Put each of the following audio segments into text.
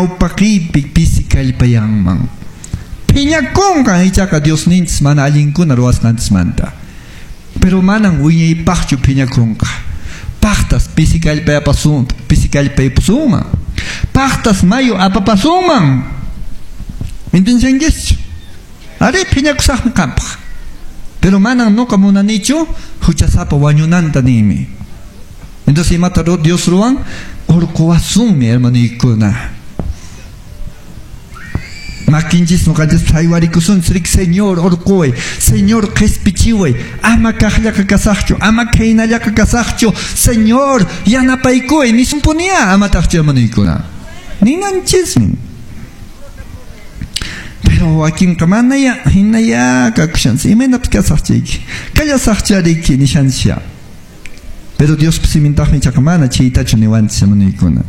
ñawpaqiypi pisi kallpayanman. Phiñakunqan ichaqa Diosninchis mana allinkuna ruwasqanchismanta. Pero manan wiñaypaqchu phiñakunqa. Paqtas pisi kallpayapasun, pisi kallpaypusunman. Paqtas mayu apapasunman. ¿Entiendes? Ari phiñakusaqmi qampaq. Pero manan nuqa munanichu huchasapa wañunanta ninmi. Entonces imata Dios ruwan urquwasunmi hermanuykuna. Makinchis nuqanchis phaywarikusun rik Señor urquway, Señor qhispichiway, ama kaqllaqa kasaqchu, ama khaynallaqa kasaqchu, Señor yanapaykuway nisunpunia amataqchu hermanuykuna. Ninanchismi. Pero wakinqa manaya hinaya kakushanchis, imaynapis kasaqchayki, kallasaqchariki nishanchisya. Pero Dios simintaqmi ichaqa mana chaytachu niwanchis hermanuykuna.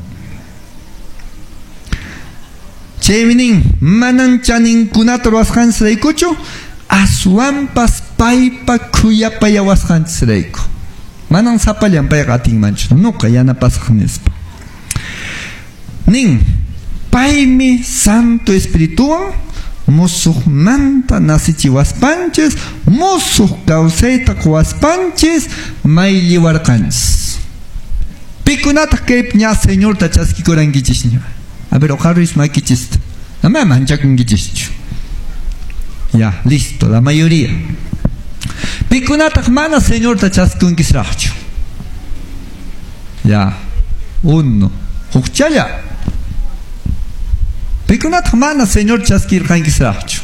Chaymi nin, manan chaninkunata ruwasqanchisraykuchu, aswanpas paypa khuyapayawasqanchisrayku. Manan sapallan payqa atinmanchu, nuqa yanapasaq nispa. Nin, paymi Santo Espirituwan musuqmanta nasichiwaspanchis, musuq kawsayta quwaspanchis maylliwarqanchis. Pikunataq kay ña Señorta chaskikurankichis ña. A ver, ojarris makichista. Ama manchakunkichischu. Ya, listo, la mayoría. Pikunataq mana Señorta chaskikunkisraqchu. Ya, uno. Hukchalla. Pikunataq mana Señor chaskirqankisraqchu.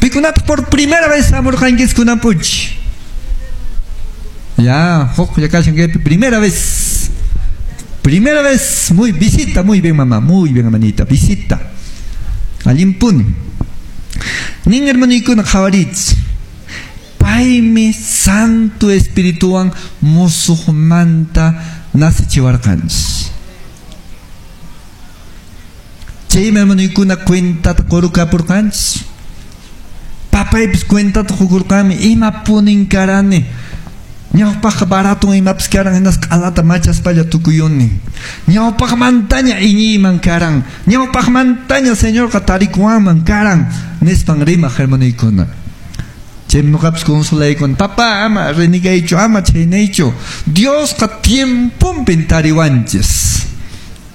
Pikunataq por primera vez hamurqankis kunan p'unchi. Ya, huklla kashan kaypi primera vez. Primera vez, muy visita, muy bien mamá, muy bien hermanita, visita. Allinpuni. Nin hermanuykuna qhawarich. Paymi Santo Espirituwan musuqmanta nasichiwarqanchis. Chaymi hermanuykuna cuentata qurukapurqanchis. Papaypis cuentata qukurqanmi imapunin karani. Ñawpaqqa baratun imapis karan hinasqa q'alata machaspalla tukuyuni. Ñawpaqmantaña iñiyman karan. Ñawpaqmantaña Señorqa tarikuwanman karan nispan rimaq hermanuykuna. Chaymi nuqapis consolaykun, papá ama renegaychu, ama chaynaychu. Diosqa tiemponpin tariwanchis.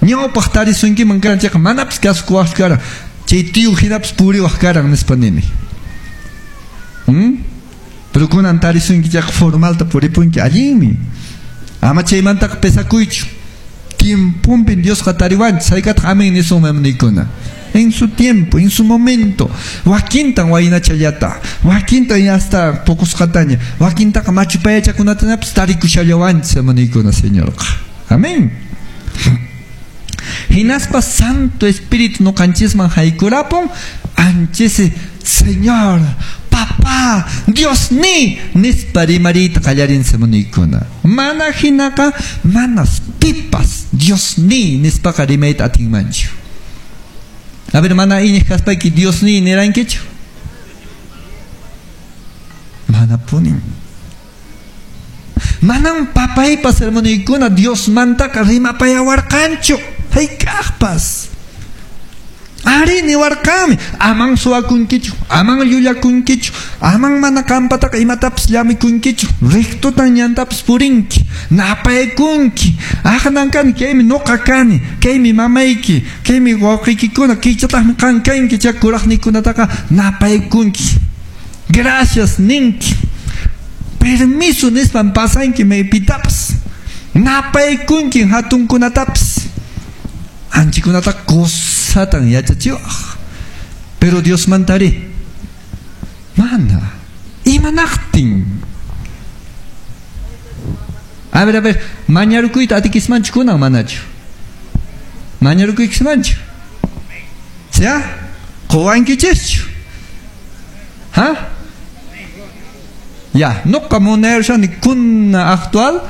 Ñawpaq tarisunkiman karan chayqa manapis kasukuwaqchu karan. Chay tío hinapis puriwaq karan nispa nini. Pero kunan tarisunki chayqa formalta puripunki allinmi. Ama chaymantaqa pesakuychu. Tiemponpin Diosqa tariwanchis. Haykataq amén nisun hermanuykuna. En su tiempo, en su momento. Wakintan waynachallata, wakintan hasta poqosqataña, wakintaqa machu payachakunatanapas tarikushallawanchis hermanuykuna Señorqa. Amén. Hinaspa Santo Espíritu nuqanchisman haykurapun, anchisi Señor, Papá, Dios ni, nispa rimariyta qallarinsi hermanuykuna. Mana hinaqa, manas pipas Dios ni nispaqa rimayta atinmanchu. A ver, mana iñiq kaspayki Dios ni nirankichu? Mana punin. Manan papaypas hermanuykuna Diosmantaqa rimapayawarqanchu. Hayk'aqpas. Ari niwarqanmi, aman suwakunkichu, aman llullakunkichu, aman mana qampataqa imatapas llamikunkichu, rectotan ñantapas purinki, napaykunki, aqnan kani, kaymi nuqa kani, kaymi mamayki, kaymi wawqiykikuna, kaychataqmi qan kanki, chay kuraqnikunataqa napaykunki. Gracias ninki. Permiso nispan pasanki maypitapas. Napaykunki hatunkunatapas. Anchikunata kusatan yachachiwaq. Pero Dios mantari. Mana. Imanaqtin. A ver, mañarukuyta atikismanchu kunan manachu? Mañarukuykismanchu? ¿Ya? Quwankichischu? Ha? Ya, nuqa munayarshani kuna actual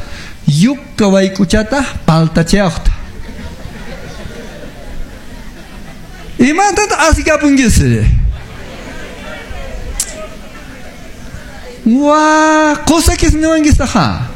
yukka wayk'uchata paltachiaqta. Imantataq asikapunkisri? Wa, qusakis niwankistaqa.